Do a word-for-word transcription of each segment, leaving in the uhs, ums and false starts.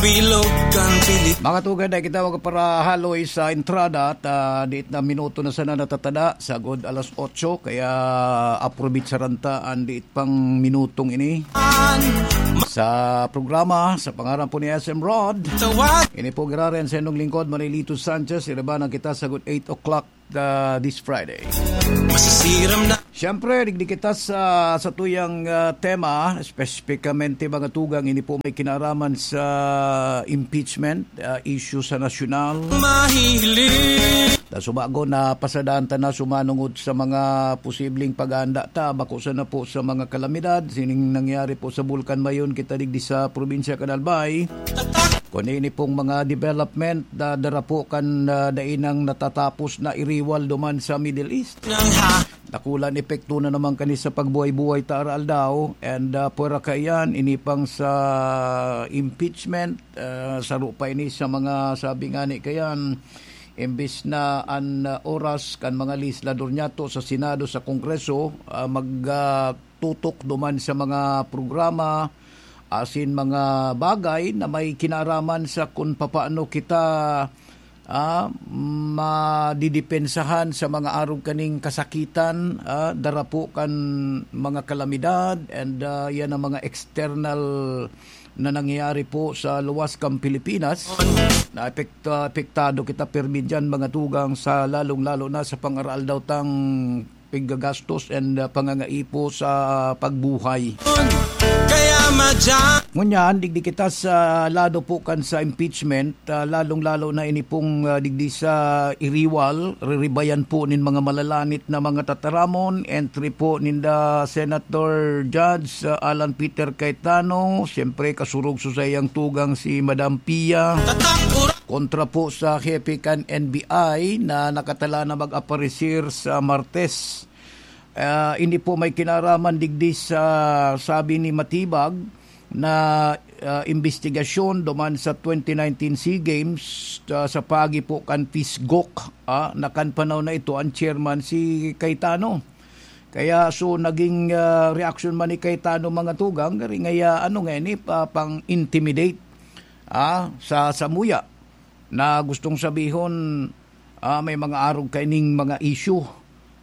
Bilog kan Pilip- Mga tugang, dai kita magparahaloy sa entrada at, ah, diit na minuto na sana natatada, sagod alas otso, kaya aprobitsaran ta an diit pang minutong ini sa programa. Sa pangaran po ni S M Rod, Tawag ini po giraran sa inyong lingkod, Manilito Sanchez. Iribanan kita sagod eight o'clock, uh, this Friday. Masisiram na. Siyempre, digdi kita sa, sa tuyang, uh, tema, espesipikamente mga tugang, ini po may kinaraman sa impeachment, uh, issue sa nasyonal. Mahilig. Ta subago na pasadaan ta na sumanungod sa mga posibleng pag-aanda ta, bako sana po sa mga kalamidad, sining nangyari po sa Bulkan Mayon kita digdi sa probinsya kan Albay. Kun ini pong mga development, da-, dara po kan, ah, dai nang natatapos na iriwal duman sa Middle East. Nang ha- Dakulang epekto na naman kani sa pagbuhay-buhay ta araaldaw. And, ah, pwera kaiyan, ini pang sa impeachment, ah, saro pa ini sa mga sabi ngani kaiyan, imbis na an, ah, oras kan mga legislador niyato sa Senado, sa Kongreso, ah, mag, ah, tutok duman sa mga programa, asin mga bagay na may kinaraman sa kun papaano kita, ah, madidepensahan sa mga arog kaning kasakitan, ah, dara po kan mga kalamidad, and, ah, yan ang mga external na nangyayari po sa luwas kan Pilipinas. Na epekta-, apektado kita pirmi diyan, mga tugang, sa lalong-lalo na sa pang-araaldaw tang piggagastos and, uh, pangangaipo sa pagbuhay. Kaya madya- Ngunyan, digdi kita sa lado po kan sa impeachment, uh, lalong-lalo na ini pong, uh, digdi sa iriwal, riribayan po nin mga malalanit na mga tataramon, entry po ninda Senator Judge, uh, Alan Peter Cayetano, siyempre kasurog sa saiyang tugang si Madam Pia. Tatak, ura- Kontra po sa hepe kan N B I na nakatala na mag-aparecer sa Martes. Ah, ini po may kinaraman digdi sa sabi ni Matibag na, ah, imbestigasyon duman sa twenty nineteen SEA Games, ah, sa pagi po kan PHISGOC, ah, na kan panahon na ito ang chairman si Cayetano. Kaya so naging, ah, reaksyon man ni Cayetano, mga tugang, gari ngaya ano nga ini, pa-, pang-intimidate, ah, sa samuya. Na gustong sabihon, ah, may mga arog kaining mga issue.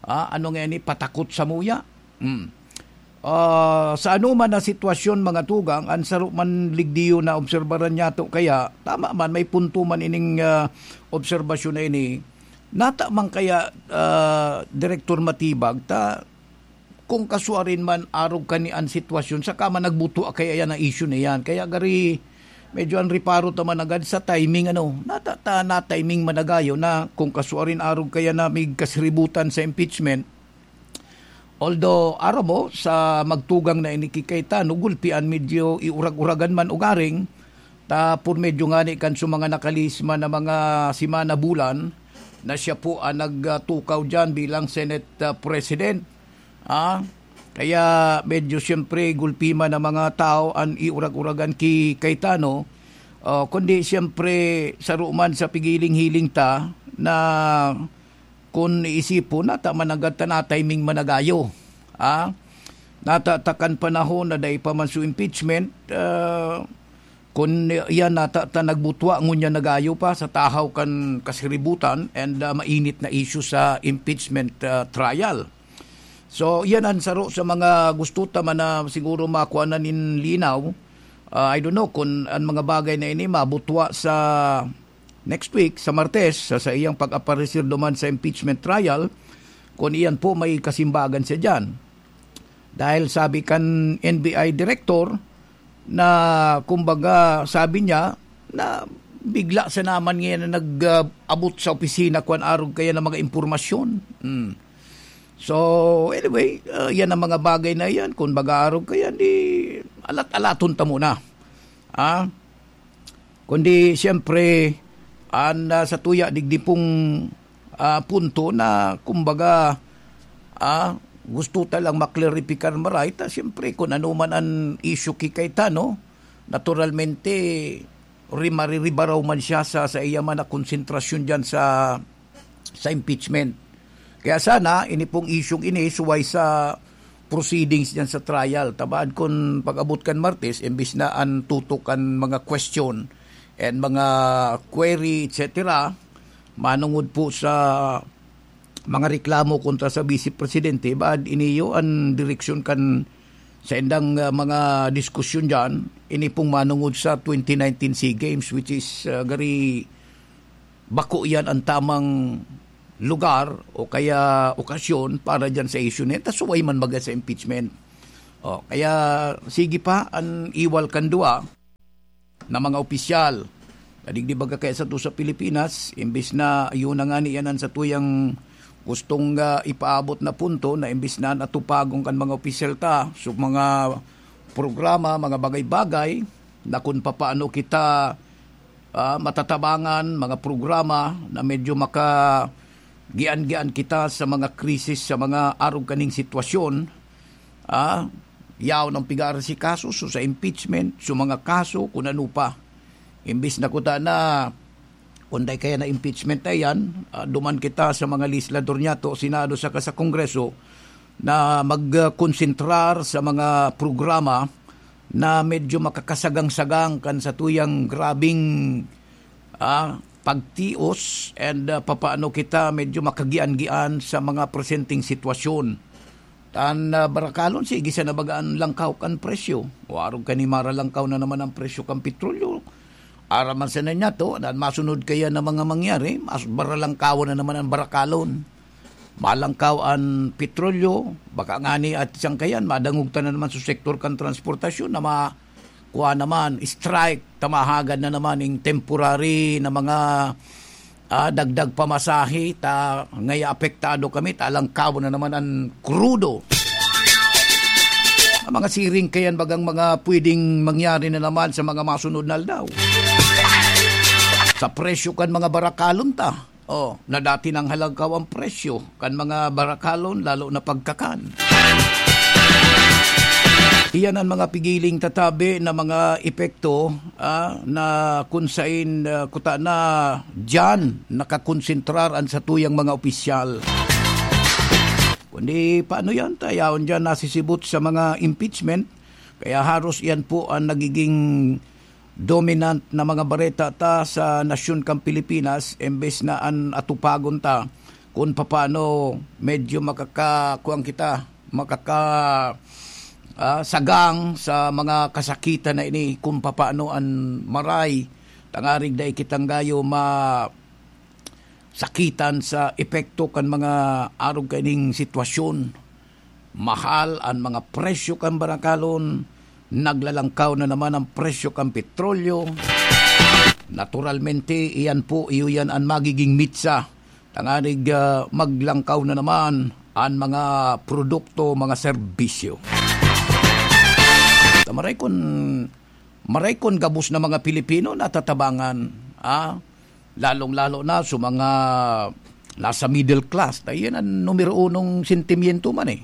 Ah, ano nga ini, patakot samuya? Hmm. Ah, sa anoman na sitwasyon, mga tugang, an saro man ligdiyo na obserbaran niyato kaya, tama man, may punto man ining, ah, obserbasyon na ini. Nata man kaya, ah, Direktor Matibag, ta kung kasuarin man arog kani an sitwasyon, saka man nagbutwa kaya yan ang issue na yan. Kaya gari, medyo ang reparo ta man agad sa timing, ano, nata-, ta-, na timing managayo na kung kasuarin arog kaya na may kasiributan sa impeachment. Although, aram mo, sa magtugang na ini ki Cayetano, gulpian medyo iurag-uragan man ugaring, ta por medyo ngani kan sa mga nakalihis man na mga semana, bulan, na siya po ang nagtukaw diyan bilang Senate, ah, President. Ah, kaya medyo siyempre gulpi man ang mga tao an iurag-uragan ki Cayetano. Ah, kundi siyempre saro man sa pigiling-hiling ta na kun iisipon, nata man agad ta na timing managayo. Ah, nata ta kan panahon na dai pa man su impeachment, ah, kun iyan nata ta nagbutwa, ngunyan nagayo pa sa tahaw kan kasiributan and, ah, mainit na issue sa impeachment, ah, trial. So, iyan an saro sa mga gusto ta man na siguro makuha na nin linaw. Ah, I don't know kun an mga bagay na ini mabutwa sa next week, sa Martes, sa, sa iyang pag-aparecer duman sa impeachment trial, kun iyan po may kasimbagan siya diyan. Dahil sabi kan N B I director na, kumbaga, sabi niya na bigla sa naman ngayon na nag, ah, abot sa opisina kwan arog kaya ng mga impormasyon. Hmm. So, anyway, ah, yan ang mga bagay na yan. Kung mag-aarog kaya, di alat-alaton ta muna. Ah? Kundi, siyempre, an, ah, sa tuya, digdi pong, ah, punto na, kumbaga, ah, gusto ta lang maklaripikar maray ta, siyempre, kung ano man an issue ki Cayetano, naturalmente, ri-, mariribaraw man siya sa, sa iya man na konsentrasyon diyan sa, sa impeachment. Kaya sana, ini pong isyung ini, suway sa proceedings diyan sa trial. Tabaan kun pag-abot kan Martes, imbis na an tutok kan mga question, and mga query, et cetera, manungod po sa mga reklamo kontra sa Vice Presidente, baad iniyo an direksyon kan saindang, ah, mga diskusyon diyan, ini pong manungod sa twenty nineteen SEA Games, which is, ah, gari bako iyan an tamang lugar o kaya okasyon para diyan sa issue na yan. Tas suway man baga sa impeachment. O, kaya sige pa an iwal kan duwa na mga opisyal. Na digdi baga kaya sa to sa Pilipinas, imbis na yun na nga ni yan an satuyang gustong, ah, ipaabot na punto na imbis na natupagon kan mga opisyal ta, so mga programa, mga bagay-bagay na kung papaano kita, ah, matatabangan, mga programa na medyo maka gian-gian kita sa mga krisis, sa mga arog kaning sitwasyon, ah, yaon ang pigaarasikaso, so sa impeachment, so mga kaso, kun ano pa. Imbis na kuta na, kung dai kaya na impeachment na yan, ah, duman kita sa mga legislador niya to, Senado saka sa Kongreso, na magkonsentrar sa mga programa na medyo makakasagang-sagang kan satuyang grabing, ah, pagtios and, ah, papaano kita medyo makagian-gian sa mga presenteng sitwasyon. Tan, ah, barakalon, sige sana baga an langkaw kan presyo. O arog kan maralangkaw na naman ang presyo kan petrolyo. Aram man sana niya to, an masunod kaya na mga mangyari, mas baralangkawan na naman ang barakalon. Malangkaw an petrolyo, baka ngani at siyang kayan, madangog ta na naman sa sektor kan transportasyon na ma-, kuha naman, strike, tamahagan na naman yung temporary na mga, ah, dagdag pamasahe, ta ngaya apektado kami, ta langkaw na naman ang krudo. Ang mga siring kayan, bagang mga pwedeng mangyari na naman sa mga masunod na aldaw. Sa presyo kan mga barakalon ta, oh, na dati nang halangkaw ang presyo kan mga barakalon, lalo na pagkakan. Iyan ang mga pigiling tatabi na mga epekto, ah, na kun sain, ah, kuta na diyan nakakonsentrar an satuyang mga opisyal. Kundi paano yan? Tayaon diyan nasisibot sa mga impeachment. Kaya haros iyan po ang nagiging dominant na mga bareta ta sa nasyon kang Pilipinas, embes na an atupagon ta kun papaano medyo makaka-, kuwan kita, makaka-, ah, sagang sa mga kasakitan na ini, kun papaano an maray, tangarig dai kitang gayo ma-, sakitan sa epekto kan mga arog kaining sitwasyon. Mahal an mga presyo kan barakalon, naglalangkaw na naman ang presyo kan petrolyo. Naturalmente, iyan po, iyo yan an magiging mitsa. Tanganig, ah, maglangkaw na naman an mga produkto, mga serbisyo. Tamaray kun, maray kun gabos na mga Pilipino natatabangan, ah, lalong-lalo na sa mga nasa middle class. Ta iyan an numero unong sentimiento man, eh.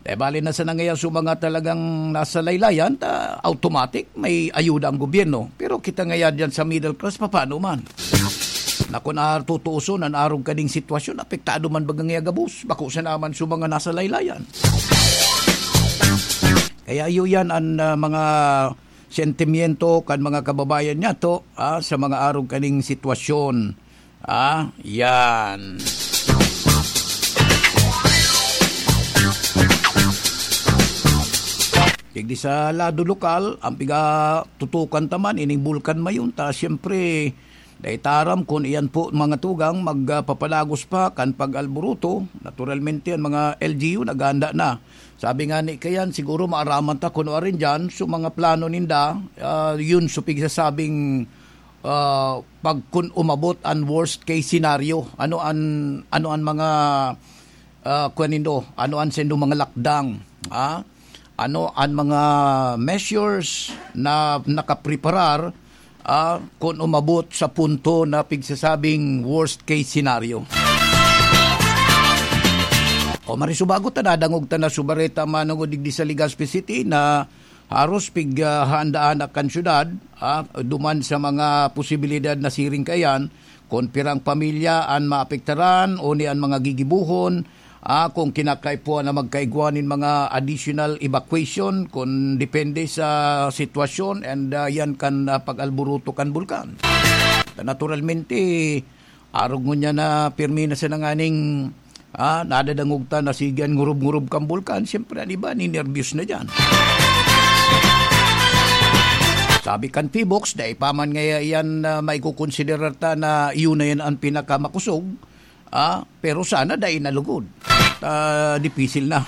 Dahil bali na sa nangaya sa mga talagang nasa laylayan, ta automatic may ayuda ang gobyerno. Pero kita ngaya diyan sa middle class, papaano man? Na kun ar-, tutuuson an arog kaning sitwasyon, apektado man baga ngaya gabos? Bako sa naman sa mga nasa laylayan. Kaya iyo yan an, ah, mga sentimiento kan mga kababayan niyato, ah, sa mga arog kaning sitwasyon. Ah, yan. Digdi sa lado lokal, ang pigatutukan ta man, ining Bulkan Mayunta, siyempre, dai ta aram kun iyan po, mga tugang, magpapalagos pa kan pag-alboroto. Naturalmente, ang mga L G U naghahanda na. Sabi nga ni kayan, siguro maaraman ta kun ano rin dyan. So, mga plano ninda, ah, yun, so, pigsasabing, ah, pag kun umabot an worst case scenario, ano an, ano an mga, ah, kuwan nindo, ano an sendo mga lakdang, ah? Ano an mga measures na nakapreparar, ah, kun umabot sa punto na pigsasabing worst case scenario? O, marisubago ta, nadangog ta na subareta manungod digdi sa Legazpi City na haros pig, ah, handa-handa kan syudad, ah, duman sa mga posibilidad na siring kaiyan, kun pirang pamilya an maapektaran o ni an mga gigibohon, Ah, kung kinakaipuhan na magkaigwa nin mga additional evacuation, kung depende sa sitwasyon, and, ah, yan kan, ah, pag-alburuto kan bulkan. Naturalmente, arog ngunyan na pirmi na sa nanganing, ah, nadadangog ta na sige an ngurub-ngurub kan bulkan, siyempre, an iba, ninerbiyos na diyan. Sabi kan Phivolcs, dai pa man ngaya yan, ah, maikukonsiderar ta na iyon na yan an pinakamakosog, ah, pero sana dai na lugod. Ah, dipisil na.